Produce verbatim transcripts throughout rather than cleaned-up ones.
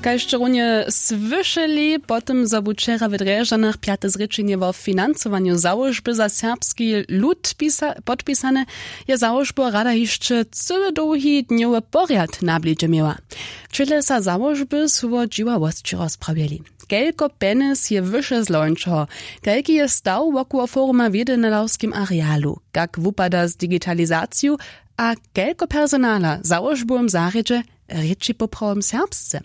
Kaž sće runje słyšeli, po tym zo bu wčera w drježdźanach pjate zrěčenje wo financowanju załožby za serbski lud pisa- podpisane, je załožbowa rada hišće cyły dołhi dnjowy porjad na blědźe měła. Čile sa załožby su wo dźiwawosći rozprawjeli. Kelko pjenjez je wyše zlońšeho? Kelki je staw wokoło foruma w jedynalawskim arealu? Kak wupada z digitalizaciju? A kelko personala w załožbowym zarjedźe rěči poprawom serbsce?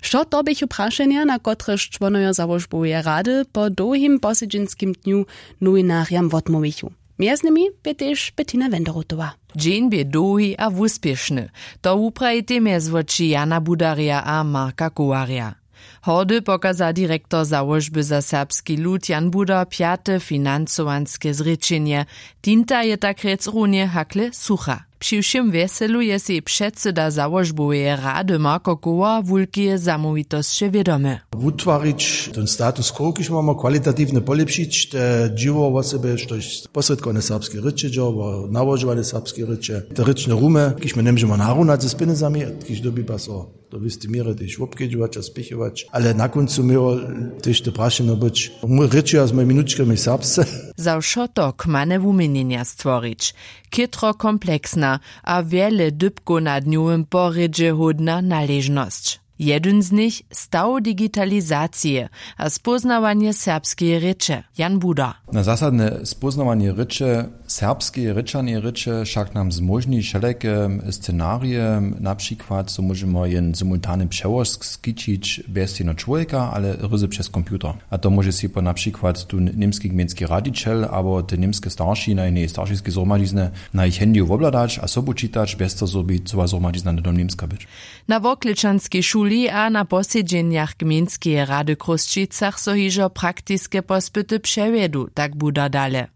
Wšo to běchu prašenja, na kotrež čłonojo załožboweje rady po dołhim posedźenskim dnju nowinarjam wotmołwichu. Mjez nimi bě tež Bettina Wenderotowa. Dźeń bě dołhi a wuspěšny. To wuprajitej mjez woči Jana Budarja a Marka Kowarja. Hordy pokaza direktor załožby za serbski lud Jan Budar pjate financowanske zrěčenje. Tinta je tak rjec runje hakle sucha. Při wšěm wjeselu je sej předsyda załožboweje rady Marko Kowar wulkeje zamołwitosće wědomy. Wutwarić ten status quo, kiž mamy, kwalitatiwnje polěpšić te dźěło wosebje, štož posrědkowanje serbskeje rěče dźo, wo nałožowanje serbskeje rěče, te rěčne rumy, kiž my njemóžemy narunać z pjenjezami, kiž dyrbiba so do wěstej měry tež wobkedźować a spěchować. Ale na kóncu měło tež te prašenje być, mu rěčeja z mojimi nučkami serbsce. Za wšo to kmane wuměnjenja stworić. Chětro kompleksna a wjele dypkow na dnjowym porjedźe hódna naležnosć. Jedyn z nich, staw digitalizacije a spóznawanje serbskeje rěče. Jan Budar. Na zasadne spóznawanje rěče, serbskeje rěčaneje rěče, wšak nam zmóžni wšelake scenarije, na přikład zo móžemy jen simultany přełožk skićić bjez jedno čłowjeka, ale ryzy přez computer. A to móže sej po na přikład tu němski gmejnski radźićel abo te němske starši na jenej staršiskej zhromadźiznje na jich handyju wobhladać a sobu čitać bjez to, zo by cyła zhromadźizna hnydom němska być. Na Worklečanskej šuli a na posedźenjach gmejnskeje rady w Chrósćicach so hižo praktiske pospyty přewjedu, tak Budar dale.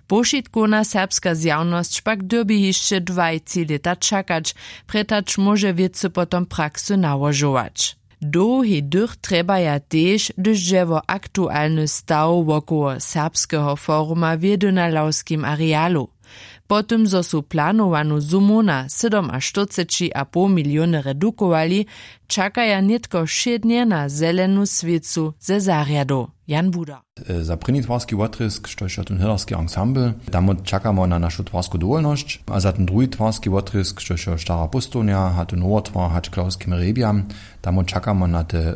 Powšitkowna serbska zjawnosć pak dyrbi hišće dwaj tři lěta čakać, prjetač móže wěcy potom praksy nałožować. Dołhi dych trjebaja tež, hdyž dźe wo aktualny staw wokoło serbskeho foruma w jedynalawskim arealu. Po tym, zo su planowanu sumu na sydomaštyrceći a poł miliony redukowali, čakaja nětko wšědnje na zelenu swěcu ze zarjadow. Jan Budar. Za prěni twarski wotrězk, štož je tón hlědarski ansambl, tam čakamy na našu twarsku dowolnosć, a za ten druhi twarski wotrězk, štož je stara póstołnja, a to nowotwar hač k lawskim hrjebjam, tam čakamy na te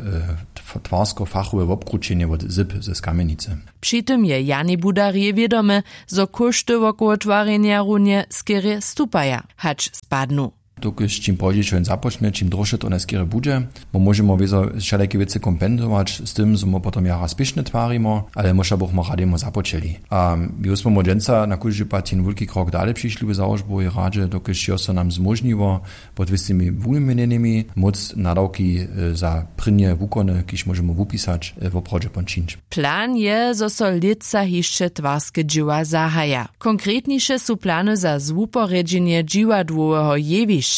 twarsko-fachowe wobkrućenje wot zyb ze Kamjenicy. Při tym je Jani Budarjej wědome, zo kóšty wokoło twarjenja runje skerje stupaja hač spadnu. Dokelž čim pozdźišo jen započnje, čim dróše to najskerje budźe. My móžemy wězo wšelake wěcy kompensować z tym, zo my potom jara spěšnje twarimo, ale my wšak bychmy radej započeli. A my smy dźensa na kóždy pad jen wulki krok dale přišli w załožbowej radźe, dokelž jo so nam zmóžniło pod wěstymi wuměnjenymi móc nadawki za prěnje wukony, kiž móžemy wupisać, woprawdźe pon čińć. Plan je, zo so lětsa hišće twarske dźěła zahaja. Konkretniše su plany za zwuporjedźenje dźiwadłoweho jewišća,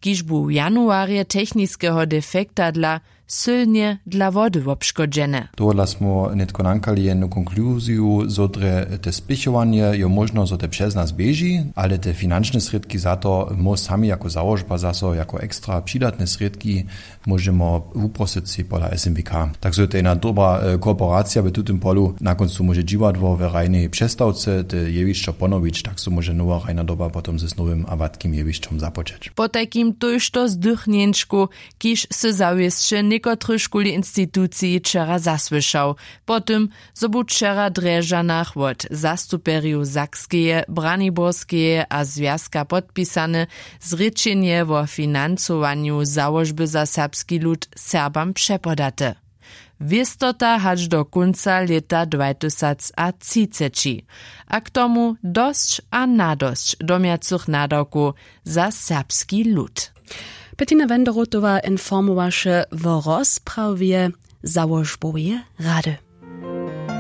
kiž bu w januarje techniskeho defekta dla sylnje dla wody wobškodźene. Tohodla smy nětko nankali jednu konkluziju, zo drje te spěchowanje jo móžno, zo te přez nas běži, ale te finančne srědki za to my sami jako załožba zaso jako ekstra přidatne srědki móžemy wuprosyć sej pola S M W K. Tak zo je to jedna dobra kooperacija w tutym polu. Na kóncu móže dźiwadło w hrajnej přestawce te jewišćo ponowić, tak zo móže nowa hrajna doba potom z nowym a watkim jewišćom započeć. Potajkim tójšto zdychnjeńškow, kiž sy zawěsće někotrych šuli instituciji wčera zasłyšał. Po tym, zo bu wčera w Drježdźanach wot zastupjerjow Sakskeje, Braniborskeje a Zwjazka podpisane zrěčenje wo financowanju załožby za serbski lud Serbam přepodate. Wěstota hač do kónca lěta dwajtysacatřiceći. A k tomu dosć a nadosć domjacych nadawkow za serbski lud. Bettina Wenderotowa informowaše wo rozprawje załožboweje rady.